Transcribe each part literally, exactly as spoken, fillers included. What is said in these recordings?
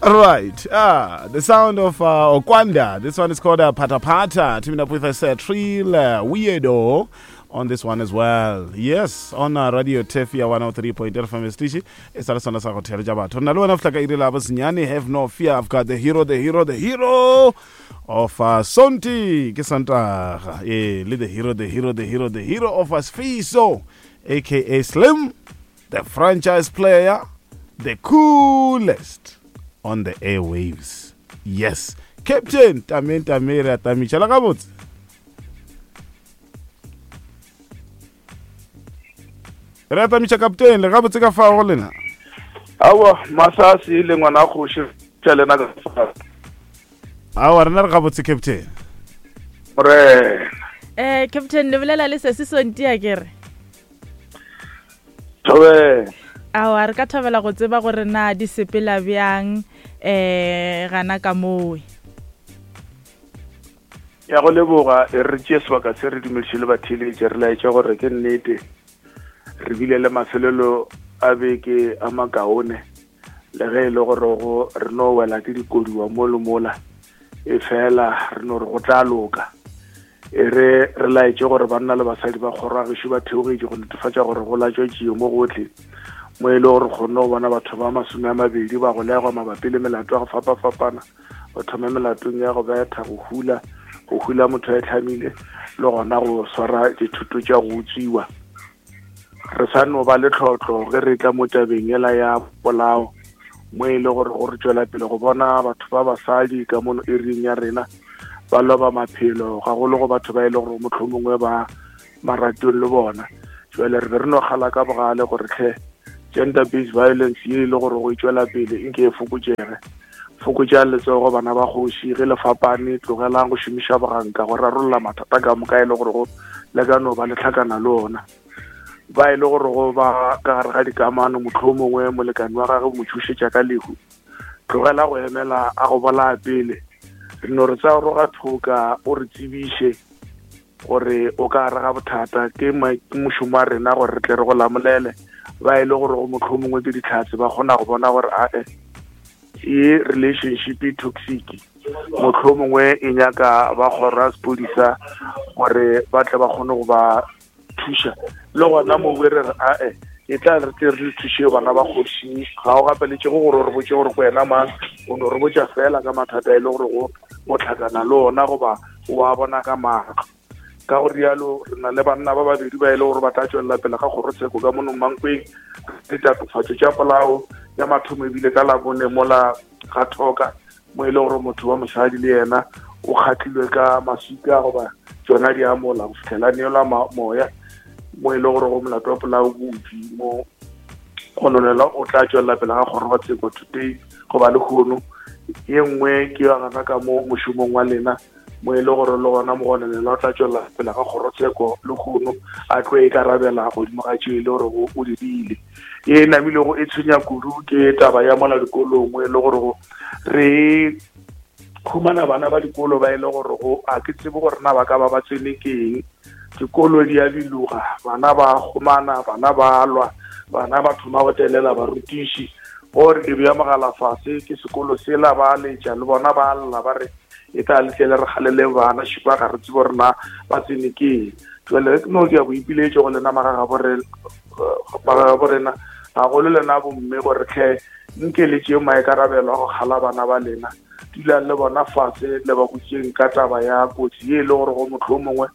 Right. Ah, the sound of uh, Okwanda. This one is called uh, Pata Pata. Teaming up with us, uh, Trill uh, Weirdo on this one as well. Yes, on uh, Radio Tefia one oh three point eight F M Stishi. E sa le sona sa go theletša batho. Nna le wena fihla ka iri la bosenyane. Have no fear. I've got the hero, the hero, the hero of uh, Sonti. Ke Sontaga. Eh, le the hero, the hero, the hero, the hero of us, Fiso, aka Slim, the franchise player, the coolest on the airwaves. Yes. Captain Tamen Tamera Tamicha la gabotse. Re tamiša captain le gabotse ka fa go lena. Awa masasi le ngwana kgoši tša lena ka fa. Awa rena re gabotse captain. Re eh captain le bolela le se se sontia ke re. Thobe. Awa re ka thabela go tseba gore na di sepela bjang eh gana ka mowe. Ya go leboga e re tšee sebaka se re dumediše le batheeletši re laetša gore ke nnete re bile le mafelelo a beke a makaone le ge e le gore go re no wela ke dikodiwa mo le mola e fela re no re go tla loka. E re re laetše gore banna le basadi ba kgoro ya gešo ba theogetše go netefatša gore go latswa tšie mo gotlhe mo e le gore kgonne go bona batho ba masome a mabedi ba golegwa mabapi le melato ya go fapafapana, ba thome melatong ya go betha, go hula, go hula motho a e tlhamile le gona go swara dithuto tša go utswiwa. Re sa no ba le tlhotlo ge re tla mo tabeng ela ya polao mo e le gore go re tšwela pele go bona batho ba basadi ka mono ering ya rena ba loba maphelo gagolo go batho ba e le gore mohlomongwe ba maratong le bona. Jwale re be re no kgala ka bogale gore tlhe gender based violence ye e le gore go e tšwela pele nke e fokotšege. Fokotša letsogo bana ba kgoši ge le fapane, tlogelang go šomiša boganka go rarolla mathata ka moka e le gore go le ka no ba le tlhakana le ona. Ba e le gore go ba ka gare ga dikamano mohlomongwe molekane wa gagwe mo tšhošetša ka lehu, tlogela go emela a go bolaya pele. Re no re tsa roga thoka o re tsebiše gore o ka gare ga bothata, ke mošomo wa rena gore re tle re go lamolele. Ba e le gore go mohlomongwe ke ditlhatse ba kgona go bona gore ae e relationship e toxic, mohlomongwe e nyaka ba kgoro ya sepodisa gore ba tle ba kgone go ba thuša. Le gona mowe re re ae e tla re tle re thuše bana ba kgoši, ga o gapeletšego gore o re botše gore ko wena mang, o no re botša fela ka mathata e le gore go o tlhakana le ona goba o a bona ka maatla. Ka go rialo re na le banna ba babedi ba e le gore ba tla tšwelela pele ga kgorotsheko ka mono Mankweng ditatofatšo tša polao ya mathomo ebile ka Labone mola ga thoka mo e le gore motho wa mosadi le yena o kgatlilwe ka maswika goba tšona di amola go fitlhela neelwa moya mo e le gore go molato wa polao bopi mo gononela o tla tšwelela pele ga kgorotsheko today goba lehono. Ye nngwe ke ya gana ka mo mošomong wa lena mo e le gore le gona mogononela o tla tšwelela pele ga kgorotsheko lehono a tlo ikarabela godimo ga tšeo e le gore o dirile. E namilego e tshwenya kudu ke taba ya mola dikolong mo e le gore re khumana bana ba dikolo ba e le gore go a ke tsebe gore na ba ka ba ba tsene keng. Dikolo di a biloga, bana ba kgomana, bana ba lwa, bana ba thoma go telela barutiši gore di bea mogala fase ke sekolo sela ba letša le bona ba lla ba re e tla letlele re kgalele bana šipa ga re tsebe gore na ba tsene keng. Jwale ke no dia boipiletšo go lena magagabo rena gagolo lena bomme gore tlhe nke le tšeo maikarabelo a go kgala bana ba lena, dulang le bona fase le ba botšeng ka taba ya kotsi ye e le gore go mohlomongwe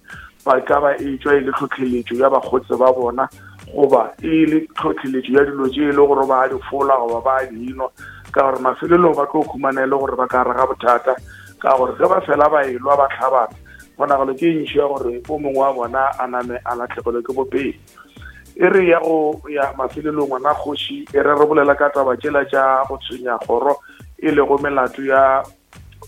ba ka ba e tšwa e le tlhotlheletšo ya bakgotse ba bona goba e le tlhotlheletšo ya dilo tše e le gore ba di fola goba ba di nwa, ka gore mafelelong ba tlo khumana e le gore ba ka gare ga bothata ka gore ge ba fela ba elwa ba tlhabana kgonagalo ke ntši ya gore o mongwe wa bona a name a latlhegelwe ke bophelo. E re ya go ya mafelelong ngwana kgoši e re re bolela ka taba tšela tša go tshwenya kgoro e lego melato ya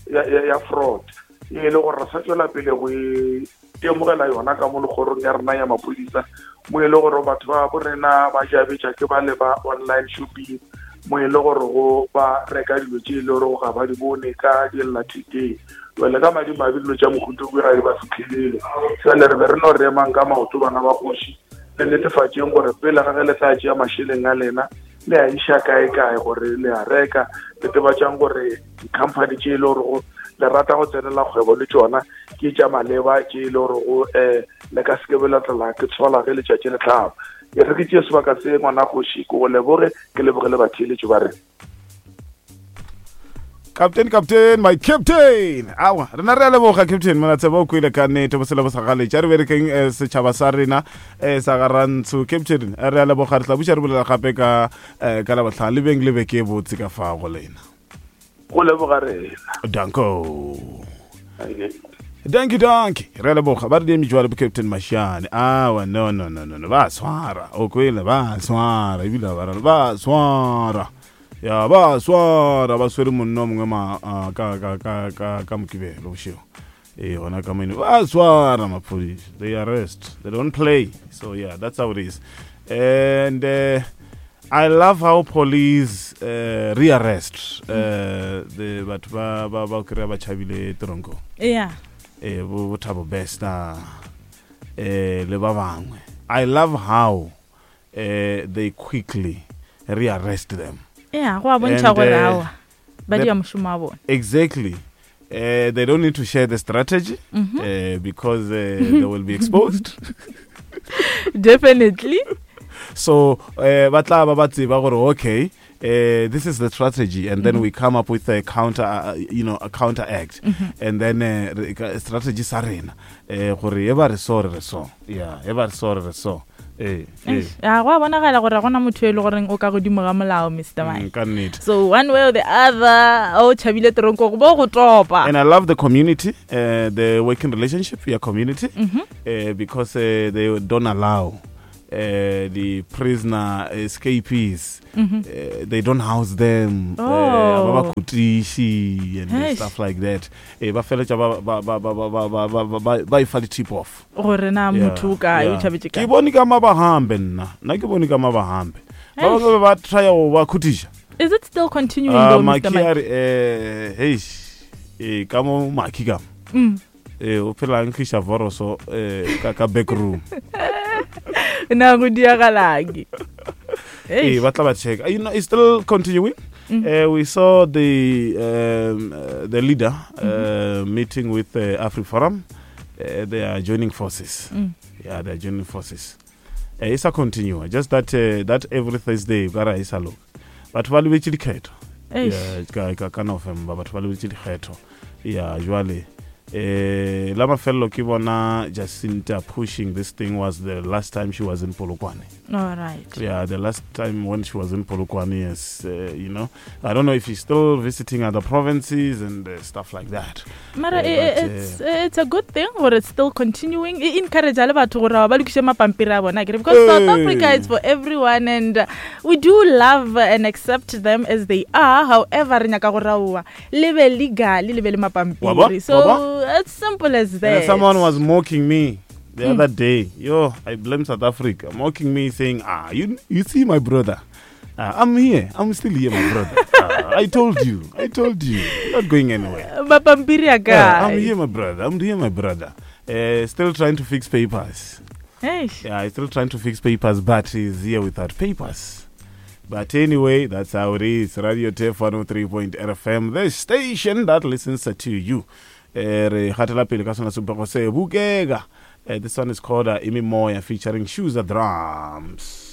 ya ya fraud e le gore re sa tšwela pele go e temogela yona ka mo lekgorong ya rena ya maphodisa mo e le gore batho ba bo rena ba jabetša ke ba le ba online shopping mo e le gore go ba reka dilo tše e le gore ga ba di bone ka dillathekeng. Jwale ka madimabe dilo tša mohuta o ga di ba fitlhelele. Jwale re be re no re emang ka maoto bana ba kgoši le netefatšeng gore pele ga ge le tla tšea mašeleng a lena le a iša kae kae gore le a reka netefatšang gore di-company tše e le gorego le rata go tsenela kgwebo le tšona ke tša maleba tše e le gorego um le ka seke be la tlela ke tshola ge letšatši le tlhaba e re ke tšee sebaka se ngwana kgoši ke go leboge ke leboge le batheeletši ba rena Captain, captain, my captain. Awa, rena re a leboga captain mona tseba o kwele ka nnete bo sele bo sa galetša re berekeng eh, setšhaba sa rena eh, sa garantsho captain eh, re a leboga re tla buša re bolela gape ka eh, ka labohlano le beng le beke e botse ka fa go lena go leboga rena danko danki danki re a leboga ba re diemi jwale bo captain Mashiane awa no no no no no ba swara o kwele ba swara ebile ba ra ba swara ya ba swara ba swere monna o mongwe ma ah, ka ka ka ka ka mokibelo bošego ee gona ka moine ba swara maphodisa they arrest they don't play so yeah that's how it is and uh, I love how police uh, rearrest uh, the batho ba ba ba kry-a ba tšhabile tronko yeah eh bo bo Thabo Bester eh le ba bangwe I love how uh, they quickly rearrest them yeah go a bontšha And, gore uh, aowa ba the- dia mošomo wa bona exactly uh, they don't need to share the strategy Mhm. uh, because uh, they will be exposed definitely so uh, ba tla ba ba tseba gore okay uh, this is the strategy and then Mhm. we come up with a counter uh, you know a counter act Mhm. and then uh, re- ka- strategy sa rena eh gore e ba re so re re so yeah e ba re so re re so eh eh Eish, ya go a bonagala gore ga gona motho e le goreng o ka godimo ga molao mr Mm, mike ka nnete so one way or the other o tšhabile teronkong bo go topa and I love the community uh, the working relationship your community Mhm. uh, because uh, they don't allow uh, the prisoner escapees Mhm. uh, they don't house them Oh. uh, ba ba kutiši and Eish. stuff like that eh ba feletša ba ba ba ba ba ba ba ba ba ba e fa di-tip off gore na Yeah, motho o kae o yeah. tšhabetse ke kae bone ka mabahambe nna nna ke bone ka mabahambe ba Eish. bangwe ba trya go ba khutiša is it still continuing Ah, though mr maki mike a re eh heish eh ka mo maki ka mo Mm. eh o phela a nkgiša voroso eh ka ka back room na go diagalang eh ba tla ba check you know it's still continuing Mm. Uh, we saw the um, uh, the leader uh, meeting with uh, AfriForum. Uh, they are joining forces. Mm. Yeah, they are joining forces. Uh, it's a continue. Just that uh, that every Thursday, ka ra e sa loka. Batho ba lebetse dikgetho. Eish. Yeah, ka ka ka November batho ba lebetse dikgetho. Yeah, jwale eh la mafello ke bona Jacinta pushing this thing was the last time she was in Polokwane. all right Yeah, the last time when she was in Polokwane, yes, uh, you know, I don't know if she's still visiting other provinces and uh, stuff like that. mara Eh, e- e- but, it's, it's a good thing gore it's still continuing e encourage le batho gore ba lokiše mapampiri a bona akere because south Hey. africa is for everyone and uh, we do love and accept them as they are however re nyaka gore aowa le be legal le be le Wa bona? mapampiri so Wa bona? it's simple as And that someone was mocking me the Mm. other day. Yo, I blame South Africa, mocking me, saying, "Ah, you you see my brother, uh, I'm here, I'm still here, my brother. Ah, I told you, I told you, I'm not going anywhere. mapampiri a Yeah, I'm kae here, my brother. I'm here, my brother. Uh, still trying to fix papers. Eish. Yeah, he's still trying to fix papers, but he's here without papers. But anyway, that's how it is. Radio Turf one oh three point eight F M, the station that listens to you. Eh, re gatela pele ka sona sebopego se bukeka. Eh, this one is called uh, Imimoya featuring Shoes Drums.